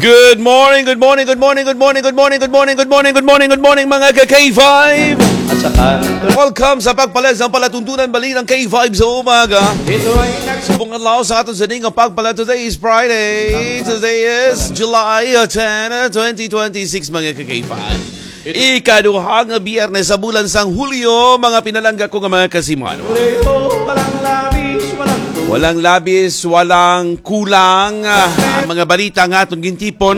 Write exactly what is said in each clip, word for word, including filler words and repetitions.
Good morning, good morning, good morning, good morning, good morning, good morning, good morning, good morning, good morning, mga ka K five. Welcome sa pagpalag sa palatuntunan bali ng K five sa umaga. Subong adlaw sa aton sa ning pagpalag. Today is Friday. Today is July ten, twenty twenty-six, mga ka K five. Ikaduha nga biyernes sa bulan sang Hulyo, mga pinalangga ko nga mga kasimano. Walang labis, walang kulang. Ah, mga balita nga aton gintipon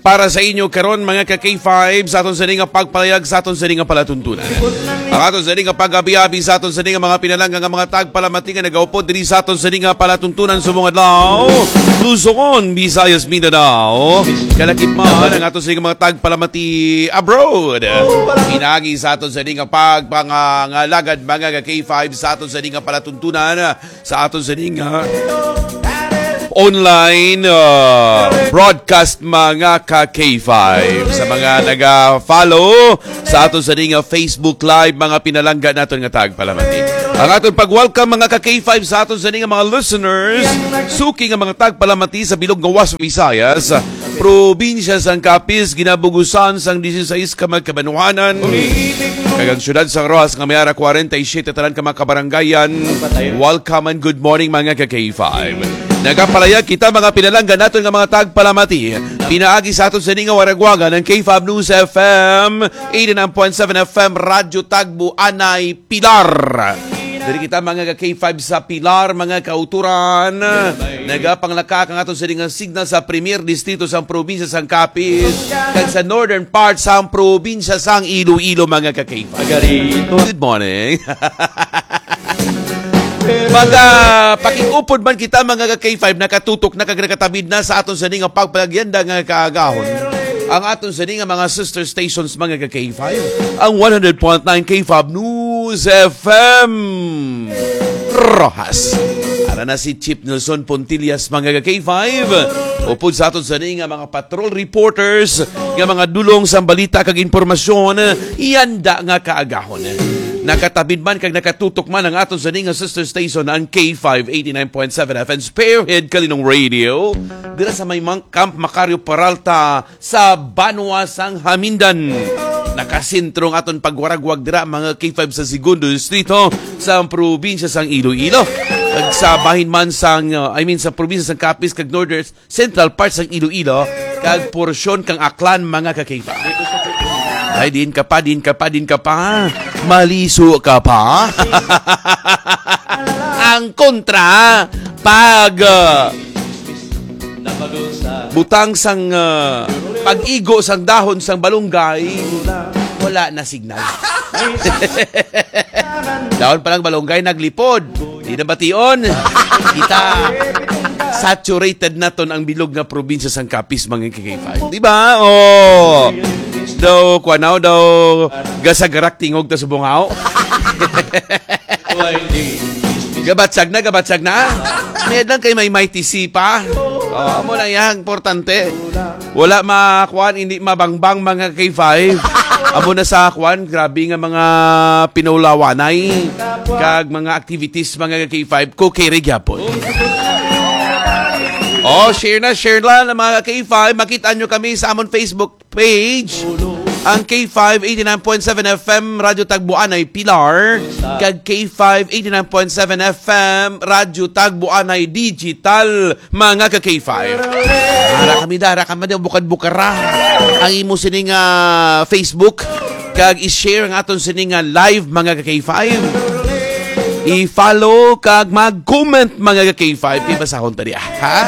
para sa inyo karon, mga ka K five, sa aton sini nga pagpalayag, sa aton sini nga palatuntunan. Ang aton sini nga pag-abi-abi, sa aton sini nga mga pinalangga nga mga tagpalamati nga nagaupod diri sa aton sini nga palatuntunan subong adlaw. Luzon, Visayas, Mindanao. Kalakip man ang aton sini nga mga tagpalamati abroad. Pinagi sa aton sini nga pagpangangalagad, mga ka K five, sa aton sini nga palatuntunan, sa aton sini nga online, uh, broadcast, mga ka K five. Sa mga naga-follow sa aton sini nga Facebook Live, mga pinalangga naton nga tagpalamati. Ang aton pag-welcome, mga ka K five, sa aton sini nga mga listeners, suki nga mga tagpalamati sa bilog nga West Visayas, probinsya sang Capiz, ginabugusan sang dieciséis ka magkabanwanan, kag ang siyudad sang Roxas nga may ara kwarenta y siyete tanan ka mga kabarangayan. Welcome and good morning, mga ka K five. Nagapalayag kita, mga pinalangga naton nga mga tagpalamati, pinaagi sa aton sini nga waragwagan, ang K five News F M, eighty-nine point seven F M, Radyo Tagbo, Anay, Pilar. Diri kita, mga ka K five, sa Pilar, mga kauturan. Nagapanglaka ang aton sini nga signal sa Premier Distrito sang probinsya sang Capiz kag sa northern part sang probinsya sang Iloilo, mga ka K five. Good morning. Maga pakig-upod man kita, mga ka K five, nakatutok na kag nakatabid na sa aton sini nga pagpagyanda nga kaagahon. Ang aton sini nga mga sister stations, mga ka K five, ang one hundred point nine K five News F M Roxas. Ara na si Chief Nelson Pontillas, mga ka K five. Upod sa aton sini nga mga patrol reporters, nga mga dulong sang balita kag impormasyon, iyanda nga kaagahon. Nakatabid man kag nakatutok man ang aton sini nga sister station, ang K five eighty-nine point seven F M Spearhead Kalinong Radio. Dira sa may mang-, Camp Macario Peralta, sa banwa sang Hamindan. Nakasentro ang aton pagwaragwag dira, mga K five, sa Segundo Distrito sa probinsya sang Iloilo. Kag sa bahin man sang, uh, I mean, sa probinsya sang Capiz kag Northern Central part sang Iloilo, kag porsyon kang Aklan, mga ka K five. Ay, din ka pa, din ka pa, din ka pa. Maliso ka pa. Ang kontra, pag, uh, butang sang, ah, pag-igo sang dahon sang balunggay, wala na signal. Dahon pa lang balunggay, naglipod. Di na bation. Kita, saturated naton ang bilog nga probinsya sang Capiz, mga ka K five. Di ba? Oh. Daw, kwa na, daw, gasagarak tingog ta sa bungaw. Gabatsag na, gabatsag na. May lang kay may Mighty C pa. Oh, amo na yan, importante. Wala makuan, hindi mabangbang, mga K five. Amo na sa kuan, grabe nga mga pinaulawanay kag mga activities, mga K five, ko kay gyapon. Oh, share na, share lang, mga K five. Makita nyo kami sa amon Facebook page, ang K five eighty-nine point seven F M Radyo Tagboanay Pilar, kag K five eighty-nine point seven F M Radyo Tagboanay Digital, mga ka K five. Ara kami da, ara kami da, bukad-bukara ang imo sining, ah, Facebook, kag i-share ang aton sining, ah, live, mga ka K five. I-follow kag mag-comment, mga ka K five. Ibasahon ta diya, ha?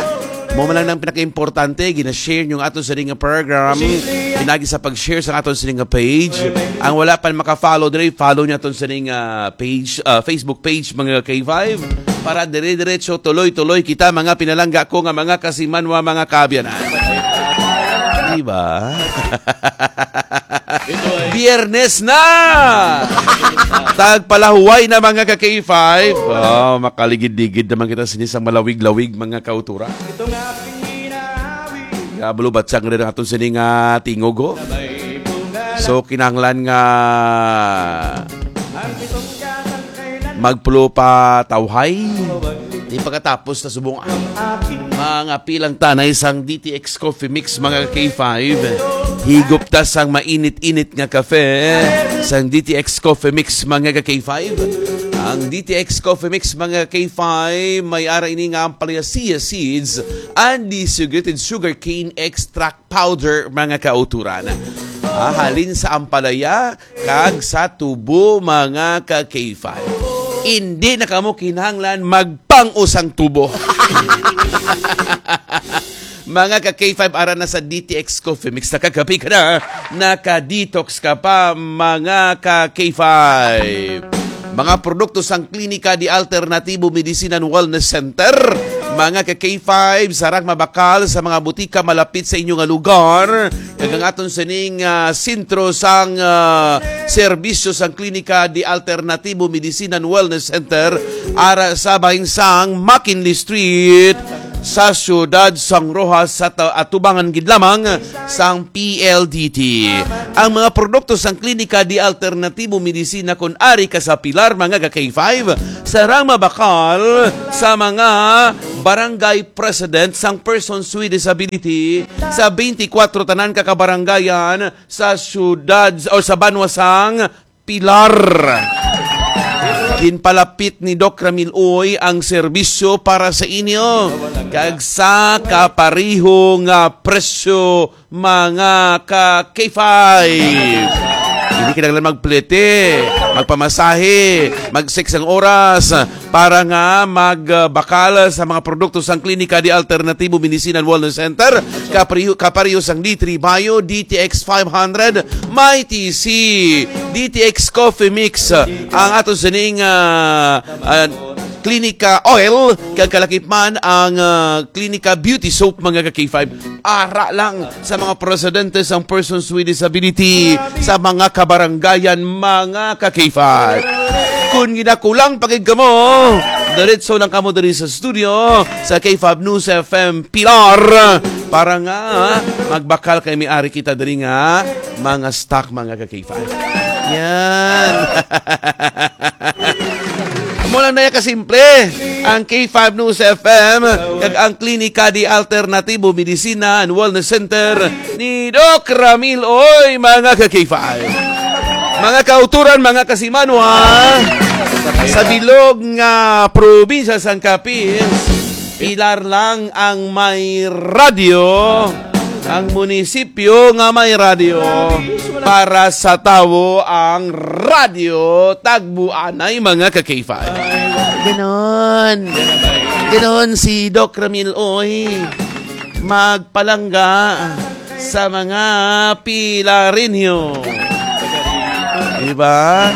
Mo man lang ang pinaka-importante, gina-share nyo ang aton sining nga program. Pinagi sa pag-share sa aton sining nga page. Ang wala pa maka-follow diri, follow niya aton sining, ah, page, ah, Facebook page, mga K five. Para dire-diretso, tuloy-tuloy kita, mga pinalangga ko nga mga kasimanwa, mga kaabyanan. Diba? Biyernes na! Tagpalahuway na, mga ka K five. Oh, makaligid-ligid naman kita sini sa malawig-lawig, mga kautura. Kabalo, batsang rin ang aton sini nga tingog, oh. So, kinahanglan nga magpulo pa tawhay. Ipagkatapos na subong, ah, mga pilang tanay sang D T X Coffee Mix, mga K five. Higop ta sang mainit-init nga kape sang D T X Coffee Mix, mga K five. Ang D T X Coffee Mix, mga K five, may ara ini nga ampalaya, chia seeds and desiccated sugarcane extract powder, mga kauturan. Ah, halin sa ampalaya kag sa tubo, mga ka K five. Hindi na kamo kinahanglan magpang-usang tubo. Mga ka K five, ara na sa D T X Coffee Mix. Nakakapi ka na, naka-detox ka pa, mga ka K five. Mga produkto sang Klinika de Alternatibo Medicine and Wellness Center, mga ka K five, sarang mabakal sa mga butika malapit sa inyo nga lugar. Kag ang aton sining, ah, sentro sang, ah, serbisyo sang Klinika de Alternatibo Medicine and Wellness Center, ara sa bahin sang McKinley Street, sa siyudad sang Roxas, sa ta-, atubangan gid lamang sang P L D T. Ang mga produkto sang Klinika de Alternatibo Medisina, kun ari ka sa Pilar, mga ka K five, sarang mabakal sa mga barangay president sang persons with disability sa twenty-four tanan ka kabarangayan sa siyudad o sa banwa sang Pilar. Ginpalapit ni Doc Ramil Uy ang serbisyo para sa inyo kag sa kapareho nga presyo, mga ka K five. Hindi kinahanglan magplete, magpamasahe, mag-six ang oras para nga magbakal sa mga produkto sang Klinika de Alternatibo Medicine and Wellness Center, kapareho, kapareho sang D three Bio, D T X five hundred, Mighty C, D T X Coffee Mix, ang ato sining, ah, ah, Klinika Oil, kag kalakip man ang, ah, Klinika Beauty Soap, mga ka K five. Ara lang sa mga presidente sang persons with disability sa mga kabarangayan, mga ka K five. Kung ginakulang pa gid kamo, diretso lang kamo diri sa studio sa K five News F M Pilar para nga magbakal kay may ari kita diri nga mga stock, mga ka K five. Yan. Amo lang na ya kasimple ang K five News F M kag ang Klinika de Alternatibo Medicina and Wellness Center ni Doc Ramil Uy, mga ka K five. Mga kauturan, mga kasimanwa, sa bilog nga probinsya sang Capiz, Pilar lang ang may radyo, ang munisipyo nga may radyo. Para sa tawo ang radyo, tagbuanay, mga ka K five. Ganon. Ganon si Doc Ramil Uy magpalangga sa mga Pilareño. Diba?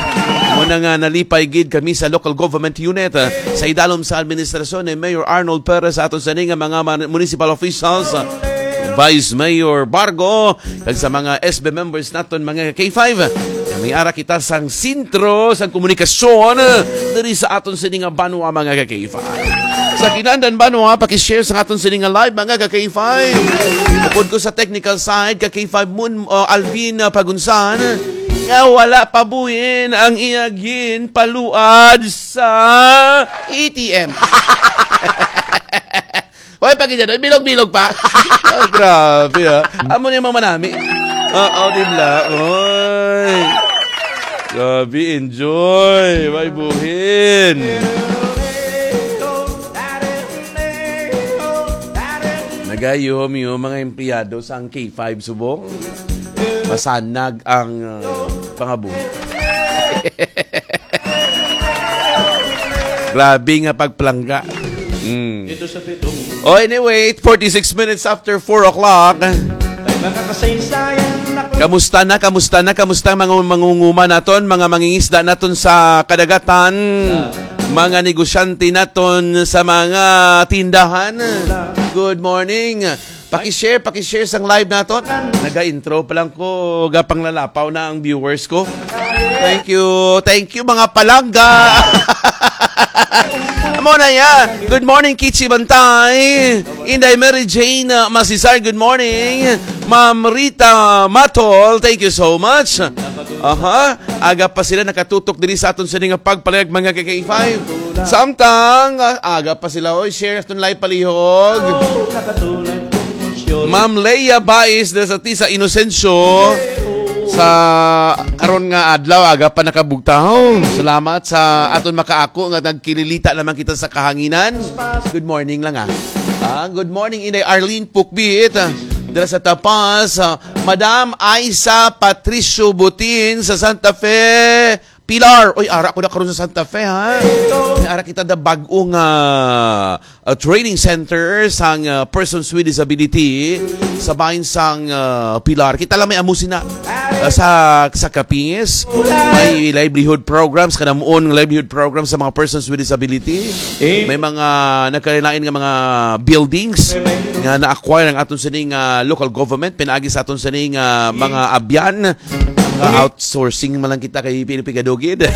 Muna nga nalipay gid kami sa local government unit, ah, sa idalom sa administrasyon ni Mayor Arnold Perez, aton sini nga mga man-, municipal officials, ah, Vice Mayor Bargo, kag sa mga S B members naton, mga K five. May ara kita sang sentro sang komunikasyon diri sa aton sini nga banwa, mga K five. Sa kinandan banwa, paki-share sa aton sini nga live, mga ka K five. Upod ko sa technical side, ka K five Moon, uh, Alvin, uh, Pagunsan, nga wala pa buhin ang iya ginpaluad sa A T M. Hoy, pag ganyan, bilog-bilog pa. Ah, grabe, ah. Amo ni mga manami. Oo, di ba? Oy. Grabe, enjoy. May buhin. Nagayom yung mga empleyado sa ang K five subong. Masanag ang, uh, pangabuhi. Grabe nga pagplangga. Mm. Oh, anyway, forty-six minutes after four o'clock. Kamusta na, kamusta na, kamusta ang mga mangunguma naton, mga mangingisda naton sa kadagatan, mga negosyante naton sa mga tindahan? Good morning. Paki-share, paki-share sang live naton. Naga-intro pa lang ko, gapanglalapaw na ang viewers ko. Thank you, thank you, mga palangga. Amo na ya. Good morning, Kichi Bantay. Inday Mary Jane, uh, Masisar, good morning. Ma'am Rita Matol, thank you so much. Aha, aga pa sila nakatutok diri sa aton sini nga pagpalayag, mga ka K five. Samtang, ah, aga pa sila, oy, share naton live palihog. Ma'am Leia Bais, dira sa Tisa Inocencio. Sa karon nga adlaw, aga pa nakabugtaw. Salamat sa aton makaako nga nagkililita naman kita sa kahanginan. Good morning lang, ah. Ah, good morning, Inday Arlene Pukbit, ah, dira sa Tapas. Ah, Madam Aisa Patricio Butin sa Santa Fe, Pilar. Uy, ara ko na karon sa Santa Fe, ha? May ara kita da bag-o nga, ah, training center sang, ah, persons with disability sa bahin sang, ah, Pilar. Kita lang may amo sina, ah, sa, sa Capiz. May livelihood programs, kanamuon livelihood programs sa mga persons with disability. May mga nagkalain nga mga buildings nga na-acquire ang aton sining, ah, local government, pinaagi sa aton sining, ah, mga abyan. Mga outsourcing man lang kita kay pinipigadugid.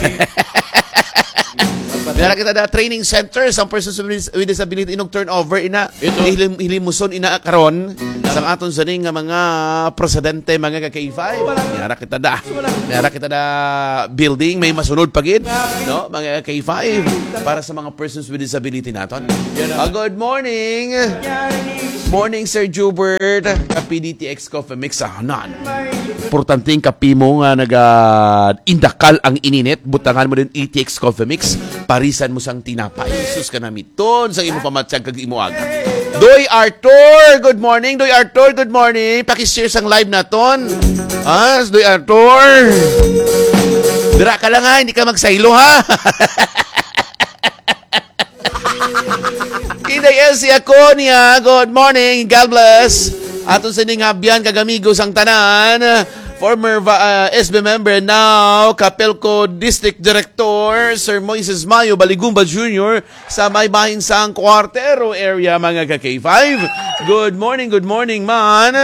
Meron kita na training center sa persons with dis-, with disability, inog turnover ina. Ito. Hilim-, hilimuson ina karon sa aton sining nga mga presidente, mga ka K five. Meron kita da. Meron kita da building, may masunod pa gid, no? Mga K five para sa mga persons with disability naton. Ah, good morning. Morning, Sir Jubert. Kapi D T X Coffee Mix sa hanan. Importante ang kapi mo nga naga-indakal ang ininit. Butangan mo din E T X Coffee Mix. Parisan mo sang tinapay. Sus ka namiton sa imo pamatyag kag imo aga. Doy Arthur, good morning. Doy Arthur, good morning. Paki-share sang live naton. Ah, Doy Arthur. Dira ka lang ha, hindi ka magsaylo ha. Inday Elsie Aconia, good morning. God bless. Aton sining abyan kag amigo sang tanan. Former va-, ah, S B member, now Capelco District Director, Sir Moises Mayo Baligumba Junior sa may bahin sang Cuartero area, mga ka K five. Good morning, good morning, man.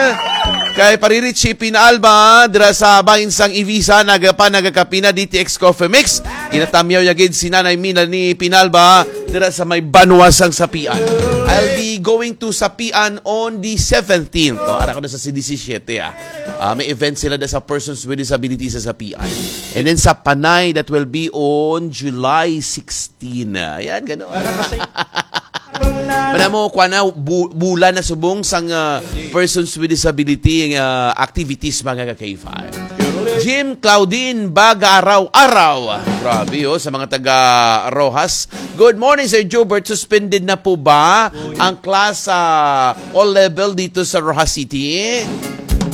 Kay Pari Richie Pinalba, dira sa bahin sang Ivisa, nagapa, nagakapina, D T X Coffee Mix. Ginatamyaw ya gid si Nanay Mina ni Pinalba dira sa may banwa sang Sapian. I'll be going to Sapian on the seventeenth. Oh, ara ko na sa C D C siete, ah. Ah, may event sila da sa persons with disability sa Sapian. And then sa Panay, that will be on July sixteen. Ayan, ganoon. Para mo, kuha na, bu-, bulan na subong sang, ah, persons with disability, ah, activities, mga ka K five. Jim Claudine Bagaraw-araw. Grabe, oh, sa mga taga Roxas. Good morning, Sir Jubert. Suspended na po ba ang class sa all level dito sa Roxas City?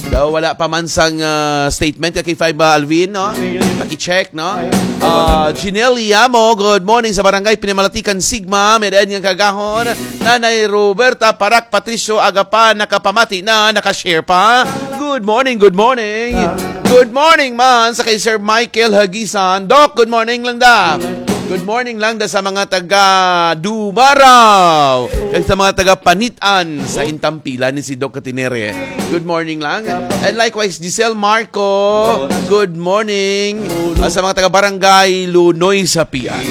Daw wala pa man sang, ah, statement ka K five ba, Alvin, no? Paki-check, no? Ah, Jinel Yamo, good morning sa Barangay Pinamalatikan, Sigma. May daan nga kagahon. Nanay Roberta Parak Patricio Agapan, nakapamati na, nakashare pa. Good morning, good morning. Good morning man sa kay Sir Michael Hagisan. Doc, good morning lang da. Good morning lang da sa mga taga Dumaraw kag sa mga taga Panitan sa Intampilan ni si Doc Katinere. Good morning lang. And likewise, Giselle Marco, good morning. Ah, sa mga taga Barangay Lunoy sa Pian.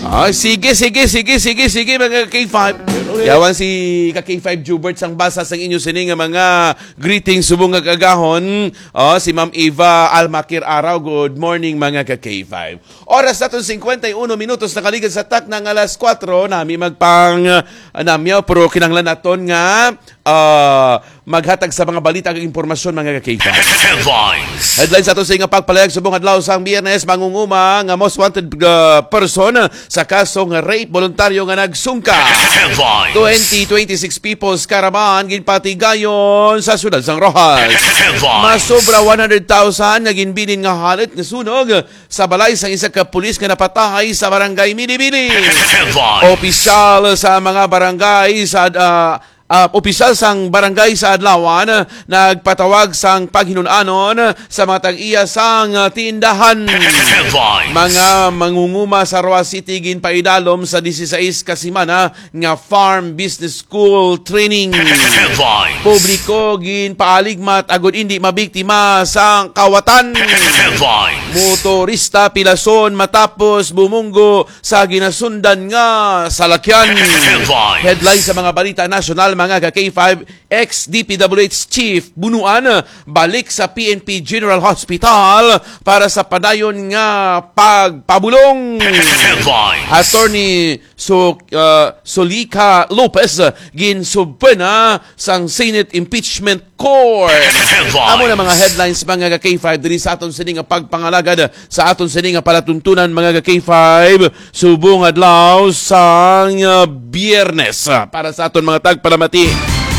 Ah, sige, sige, sige, sige, sige, mga K five. Yawan si ka K five Jubert sang basa sang inyo sini nga mga greetings subong nga kagahon. Oh, si Ma'am Eva Almaquer Araw, good morning, mga ka K five. Oras naton cincuenta y uno minutos nakaligad sa takna nga alas kuwatro, nami magpang, ah, namyaw, pero kinahanglan naton nga, ah, maghatag sa mga balita ug impormasyon, mga ka K five. Headlines. Headlines ato sa nga pagpalayag subong adlaw sang Biyernes, mangunguma nga most wanted, ah, person sa kasong rape voluntaryo nga nagsungka. Headlines. Twenty twenty-six People's Caravan ginpatigayon sa siyudad sang Roxas. Headlines. Masobra one hundred thousand nga ginbilin nga halit nga sunog sa balay sang isa ka pulis nga napatahay sa barangay Milibili. Headlines. Opisyal sa mga barangay sa, ah, ah, opisyal sang barangay sa Adlawan, ah, nagpatawag sang paghinun-anon sa mga tag-iya sang, ah, tindahan. Headlines. Mga mangunguma sa Roxas City ginpaidalom sa dieciséis ka semana nga Farm Business School Training. Headlines. Publiko ginpaaligmat agud indi mabiktima sang kawatan. Headlines. Motorista pilason matapos bumunggo sa ginasundan nga salakyan. Headlines. Headlines sa mga balita nasyonal, mga ka-K five, ex-D P W H chief, bunuan, balik sa P N P General Hospital para sa padayon nga pagpabulong. Headlines. Attorney So, uh, Solika Lopez, uh, ginsubpoena sang Senate Impeachment Court. Headlines. Amo na mga headlines, mga ka-K five, diri sa aton sini nga pagpangalagad, sa aton sini nga palatuntunan, mga ka-K five, subong adlaw sang, uh, Biyernes. Uh, para sa aton mga tagpalamati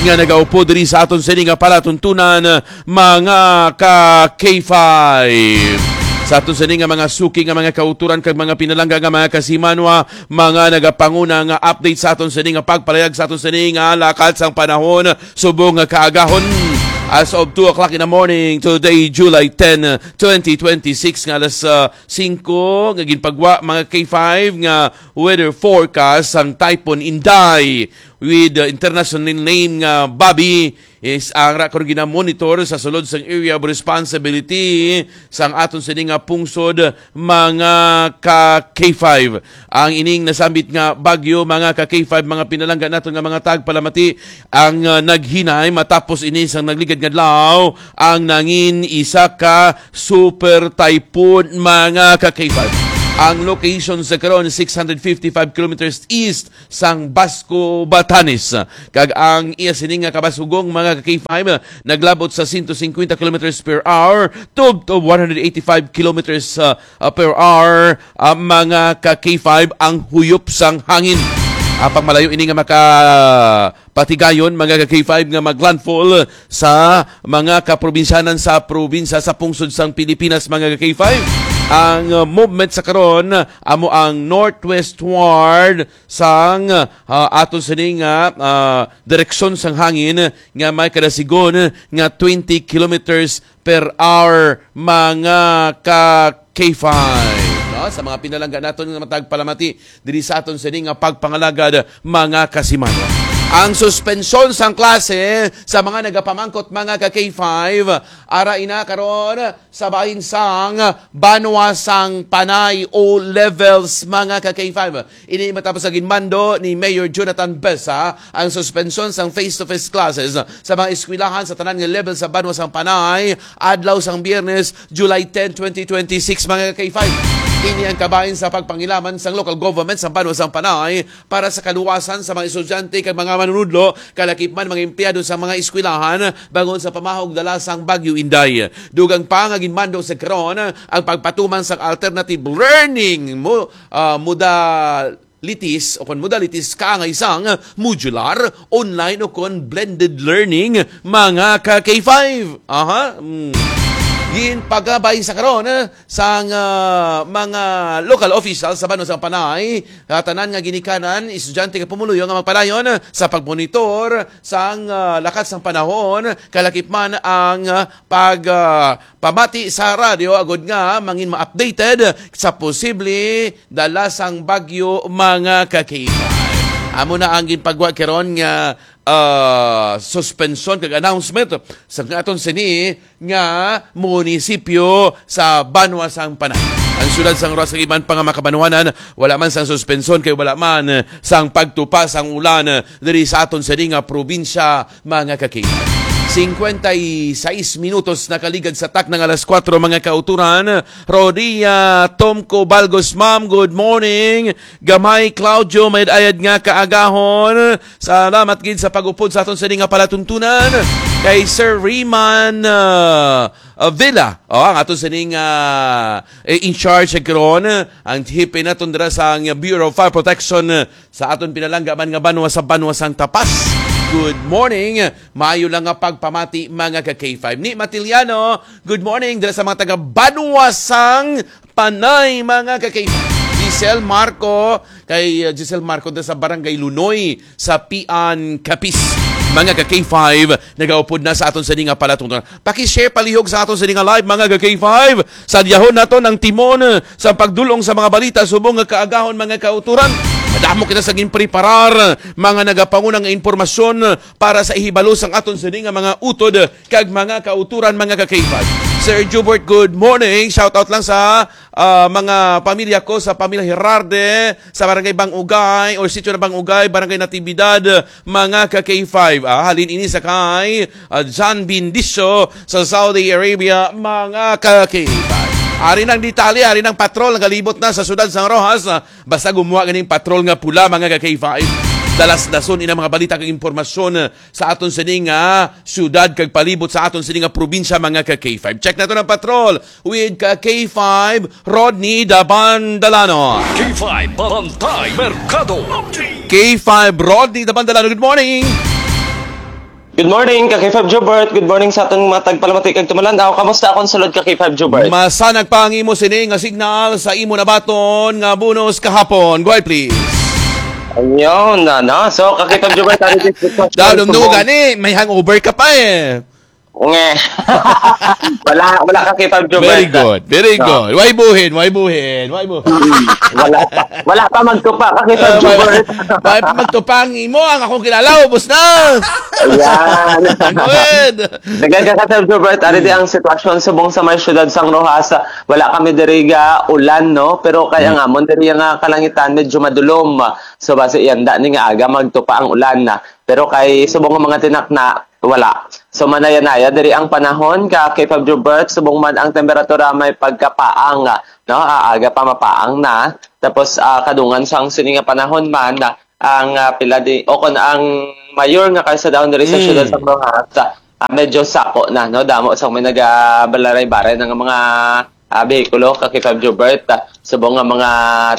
nga nagaupod diri sa aton sini nga palatuntunan, uh, mga ka-K five. Sa aton sini nga mga suki nga mga kauturan kag mga pinalangga nga mga kasimanwa, mga nagapanguna nga update sa aton sini nga pagpalayag sa aton sini nga lakat sang panahon subong nga kaagahon. As of two o'clock in the morning, today, July ten, twenty twenty-six, nga alas, ah, singko nga ginpagwa, mga K five, nga weather forecast sang Typhoon Inday with, ah, international name nga Bobby is ang ra karon ginamonitor sa sulod sang area of responsibility sang aton sini nga pungsod, mga ka K five. Ang ining nasambit nga bagyo, mga ka K five, mga pinalangga naton nga mga tagpalamati, ang, ah, naghinay matapos ini sang nagligad nga adlaw ang nangin isa ka super typhoon, mga ka K five. Ang location sa karon, six hundred fifty-five kilometers east sang Basco, Batanes. Kag ang iya sini nga kabasugong, mga ka K five, naglabot sa sento singkwenta kilometers per hour, tubtob one hundred eighty-five kilometers, uh, uh, per hour, uh, mga ka K five, ang huyop sang hangin. Apang malayo ini nga makapatigayon, mga ka K five, nga maglandfall sa mga kaprobinsyanan sa probinsya sa pungsod sang Pilipinas, mga ka K five. Ang, uh, movement sa karon amo ang northwestward sang, ah, aton sini nga, ah, direksyon sang hangin nga may kadasigon nga twenty kilometers per hour, mga ka K five. No? Sa mga pinalangga naton nga matagpalamati diri sa aton sini nga pagpangalagad, mga kasimanwa. Ang suspensyon sang klase sa mga nagapamangkot, mga ka K five, ara ina karon sa bahin sang Banwa sang Panay O levels, mga ka K five. Ini matapos sa ginmando ni Mayor Jonathan Besa ang suspensyon sang face-to-face classes sa mga eskwelahan sa tanan nga level sa Banwa sang Panay adlaw sang Biyernes, July ten, twenty twenty-six, mga ka K five. Ini ang kabahin sa pagpangilaman sang local government sa Banwa sang Panay para sa kaluwasan sa mga estudyante kag mga manunudlo, kalakip man mga empleyado sa mga eskwelahan, bangod sa pamahog dala sang Bagyo Inday. Dugang pa nga ginmando sa karon ang pagpatuman sa alternative learning mo, ah, modalities o kon modalities kaangay sang modular, online o kon blended learning, mga ka K five. Aha. Mm. Ginpagabay sa karon, ah, sang, ah, mga local officials sa Banwa sang Panay, ah, tanan nga ginikanan, estudyante nga pumuluyo nga magpadayon sa pagmonitor sang, ah, lakat sang panahon, kalakip man ang, ah, pag, ah, pamati sa radyo agud nga mangin ma-updated sa posible dala sang bagyo, mga ka-K five. Amo na ang ginpagwa karon nga, ah, suspensyon kag announcement sa aton sini nga munisipyo sa Banwa sang Panay. Ang siyudad sang Roxas kag iban pa nga mga kabanwanan, wala man sang suspensyon kay wala man sang pagtupa sang ulan diri sa aton sini nga probinsya, mga ka-K five. Singkwenta y seis minutos nakaligad sa takna nga alas kuwatro, mga kauturan. Rodia Tomco Balgos, ma'am, good morning. Gamay Claudio, may ayad nga kaagahon. Salamat gid sa pag-upod sa aton sini nga palatuntunan. Kay Sir Riman, ah, ah, Villa, oh, ang aton sining, ah, eh, in charge karon, ang hepe naton dira sa ang Bureau of Fire Protection, ah, sa aton pinalangga man nga banwa sa Banwa sang Tapas. Good morning. Maayo lang nga pagpamati, mga ka-K five. Ni Matiliano, good morning dira sa mga taga Banwa sang Panay, mga ka-K five. Giselle Marco, kay, uh, Giselle Marco dira sa Barangay Lunoy, sa Pian, Capiz. Mga ka-K five, nagaupod na sa aton sini nga palatuntunan. Paki-share palihog sa aton sini nga live, mga ka-K five. Sadyahon naton ang timon, uh, sa pagdulong sa mga balita subong nga kaagahon, mga kauturan. Madamo kita sa ginpreparar, mga nagapanguna nga impormasyon, uh, para sa ihibalo sang aton sini nga mga utod kag mga kauturan, mga ka-K five. Sir Jubert, good morning. Shout out lang sa ah, mga pamilya ko sa pamilya Herarde, sa Barangay Bangugay, or Sitio na Bangugay, Barangay Natividad, mga ka K five. Ah, halin ini sa kay ah, John Bindicio sa Saudi Arabia, mga ka K five. Ari nang detalye, ari nang patrol, nagalibot na sa siyudad sang Roxas. Ah, basta gumuha ganing patrol nga pula, mga ka K five. Dalas-dason ina mga balita kag impormasyon sa aton sini nga siyudad kag palibot sa aton sini nga probinsya, mga ka K five. Check nato ang patrol with ka K five, Rodney Dabandalano. K five Bantay Merkado. K five, Rodney Dabandalano, good morning. Good morning, ka K five Jubert. Good morning sa atong mga tagpalamati kag tumalandaw. Kamusta akong sulod, ka K five Jubert? Masanag pa ang imo sini nga signal sa imo nabaton nga bonus kahapon. Go ahead, please. Ayun na, no? So, ka K five Jubert, ano din po? Daw, dumdumo gani, may hangover ka pa eh. Nge. Wala, wala ka kita, Jubert. Very good, very good. Why buhin? Why buhin? Why buhin? Mm, wala pa. Wala pa magtupa ka kita, uh, Jubert. Why pa magtupa ang imo? Ang akong kilala, ubos na. Ayan. Good. Nagagakataw, Jubert. Ari di ang sitwasyon subong sa may siyudad sang Roxas. Wala kami diri ga ulan, no? Pero kaya nga, mo diri nga kalangitan, medyo madulom. So, basi, iyanda ni nga aga, magtupa ang ulan na. Pero kay subong nga mga tinakna, wala. So, manaya-naya diri ang panahon, ka K five Jubert, subong man ang temperatura may pagkapaang, no? Ah, aga pa mapaang na. Tapos, ah, kadungan sang sini nga panahon man, ah, ang, ah, pila di, o kon ang mayor nga kalsadahon diri sa Mm. siyudad sa Roxas, ah, medyo sako na, no? Damo sang may nagabalaray-baray na nga mga, ah, behikulo, ka K five Jubert, ah, subong nga mga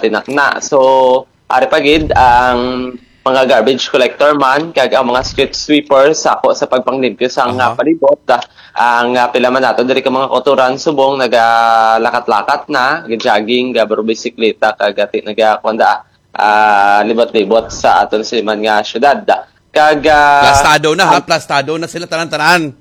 tinakna. So, ari pa gid ang mga garbage collector man kag ang mga street sweeper sako sa pagpanglimpyo sang, Aha. ah, palibot. Ah, ang, ah, pila man nato diri ka mga kautoran subong nagalakat-lakat na, ga-jogging, gabarobisikleta, kag ati nagakuan da, ah, libot-libot sa aton siman nga syudad. Kag, ah, Plastado na, ha? ang Plastado na sila tanan-tanan.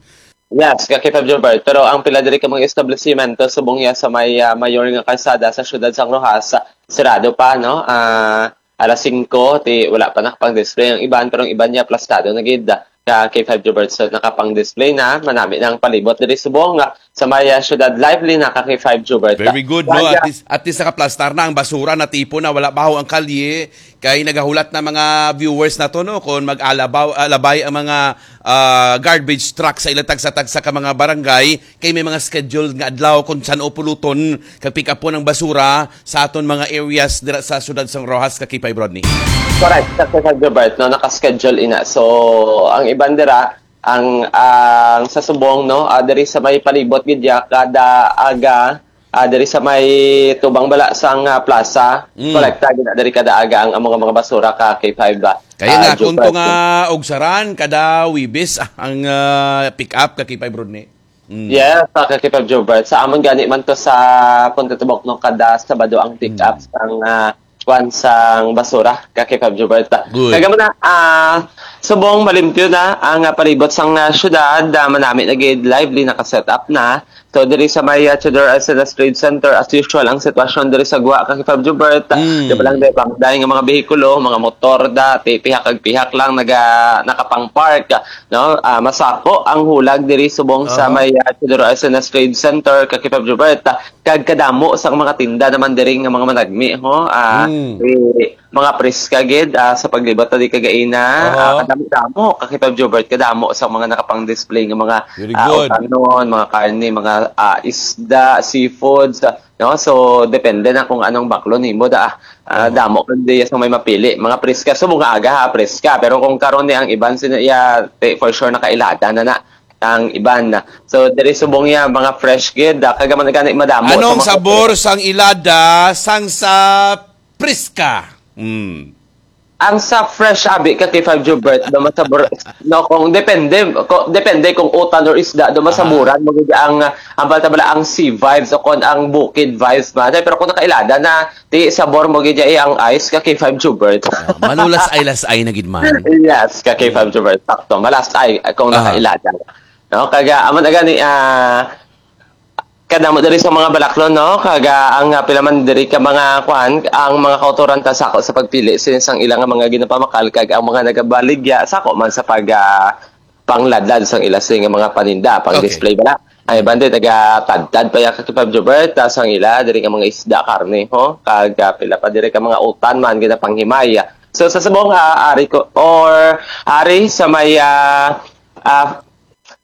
Yes, ka K five Jubert. Pero ang pila diri ka mga establisimento subong ya sa may, ah, mayor nga kalsada sa siyudad sang Roxas, sirado pa, no? Ah, alas singko, ti wala pa nakapang-display ang iban, pero ang iban niya plastado na gid, ah, ka K five Jubert. So, nakapang-display na, manami na ang palibot diri subong, ah, sa may, ah, siyudad. Lively na ka K five Jubert. Very good, no? Kaya At least, at least nakaplastar na ang basura, natipon na, wala baho ang kalye. Kay nagahulat na mga viewers nato, no, kung mag-alabaw, alabay ang mga, ah, garbage truck sa ilang tagsa-tagsa ka mga barangay, kay may mga scheduled nga adlaw kung san-o puluton kag pick-upon ang basura sa aton mga areas dira sa siyudad sang Roxas, ka K five Rodney. Correct, sa San Gilbert, no, naka-schedule ina. So, ang iban dira, ang, ang sa subong, no, ah, diri sa may palibot gid ya, kada aga, ah, diri sa may tubang bala sang, ah, plaza, Mm. kolekta gid na diri kada aga ang among mga basura ka K five ba. Kaya Ah, nga, kung Jupiter. to nga ugsaran, kada Wibis, ah, ang, ah, pick up ka K five Rodney. Mm. Yes, sa ka K five Jupiter. Sa amon gani man to sa Punta Tubok, no, kada Sabado ang pick up Mm. sang, ah, kwan sang basura ka K five Jupiter. Good. Kaya mo na, ah, subong malimpyo na ang, ah, palibot sang, ah, syudad, ah, manami na gid lively naka-set up na. So, diri sa may, ah, Theodore Arcenas Trade Center, as usual, ang sitwasyon diri sa Gwa, ka K five Jubert, ah, Mm. di ba lang, di ba, dahil nga mga behikulo, mga motor, dati, pihak kag pihak lang, naga, nakapang-park, ah, no? Ah, masako ang hulag diri subong sa Aha. may, ah, Theodore Arcenas Trade Center, ka K five Jubert, ah, kag kadamo sa mga tinda naman diri nga mga managmi, ho? Ah, Mm. eh, mga preska gid, ah, sa paglibot ta di kagaina. Aha. Ah, kadamo-damo, ka K five Jubert, kadamo sa mga nakapang-display nga mga, Very ah, good. utanon, mga karne, mga, ah, isda, seafoods, ah, no? So, depende na kung anong baklo nimo da. Ah, Aha. damo kundi sa may mapili. Mga preska, subong nga aga ha, preska. Pero kung karon ni ang iban sino iya, te, for sure nakailada na na ang iban. So, diri subong iya, mga fresh gid, ah, kag man gani madamo sa Anong mga sabor sang ilada sang sa preska? Mm. Ang sa fresh abi ka K five Jubert, do masabor, no, kung depende, ko, depende kung utan or isda, do masaburan mo gid ang, ang balta bala ang sea vibes o kon ang bukid vibes man. Pero kung nakailada na, ti sabor mo gid iya ang ice ka K five Jubert. Ah, manulas ay las ay na gid man. Yes, ka K five Jubert. Sakto, malas ay kung Aha. nakailada. No, kaga amo na gani, ah, kadamo diri sa mga balaklon, no? Kaga ang, ah, pila man diri ka mga kuan, ang mga kautoran ta sako sa pagpili sini sang ilang mga ginapamakal kag ang mga nagabaligya sako man sa pag, ah, pangladlad sang ila sini nga mga paninda, pang Okay. display bala. Ay, bandi, taga-tadtad pa ya ka Kipab Jobert, tas ang ila, diri ka mga isda, karne, ho? Kag, ah, pila pa diri ka mga utan man, ginapanghimay. So, sa subong, ah, ari ko, or ari sa may, ah, ah,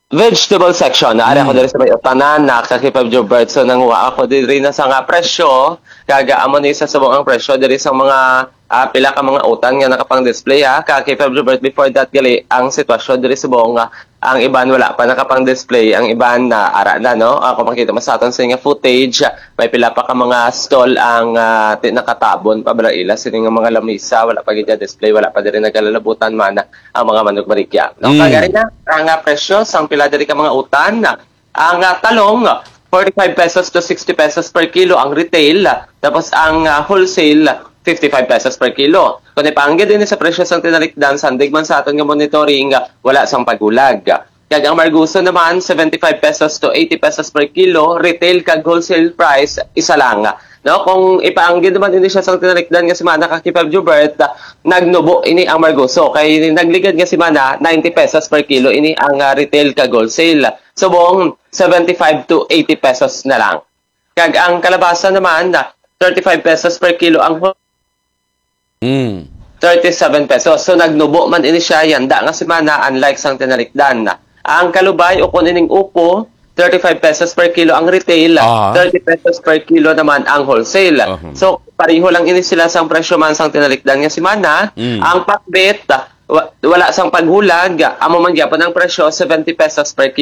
vegetable section, na ari ako Mm. diri sa may utanan, na ka Kipab Jobert. So, nanguha ako diri na sa nga presyo, kag, ah, amo ni sa subong ang presyo diri sa mga, ah, pila ka mga utan nga nakapang-display, ha, ka Kipab Jobert. Before that, gali, ang sitwasyon diri subong, ah, ang iban wala pa nakapang-display, ang iban na ara na, no? Ako makita mo sa aton sa nga footage, may pila pa ka mga stall ang, ah, ti-, nakatabon pa bala ila sini nga mga lamisa, wala pa gid display, wala pa diri nagalalabutan man ang mga manok baligya. No? Mm. Kagari na, ang, ah, presyo sang pila diri ka mga utan, ang, ah, talong, forty-five pesos to sixty pesos per kilo ang retail, tapos ang, ah, wholesale, fifty-five pesos per kilo. Kung ipaanggid ini sa presyo sang tinalikdan, sandig man sa aton nga monitoring, ah, wala sang paghulag. Kag ang marguso naman, seventy-five pesos to eighty pesos per kilo, retail kag wholesale price, isa lang. No, kung ipaanggid naman ini siya sang tinalikdan nga semana ka Kipab Jobert, ah, nagnubo ini ang marguso. Kay nagligad nga semana, ninety pesos per kilo ini ang, ah, retail kag wholesale. Subong, seventy-five to eighty pesos na lang. Kag ang kalabasa naman, ah, thirty-five pesos per kilo ang whole Mm. thirty-seven pesos. So, nagnubo man ini siya, yanda nga semana, unlike sang tinalikdan. Ang kalubay, o kung ining upo, thirty-five pesos per kilo ang retail, Ah. thirty pesos per kilo naman ang wholesale. Aha. So, pareho lang ini sila sang presyo man sang tinalikdan nga semana. Mm. Ang pakbet, wa-, wala sang paghulag, amo man gyapon ang presyo, seventy pesos per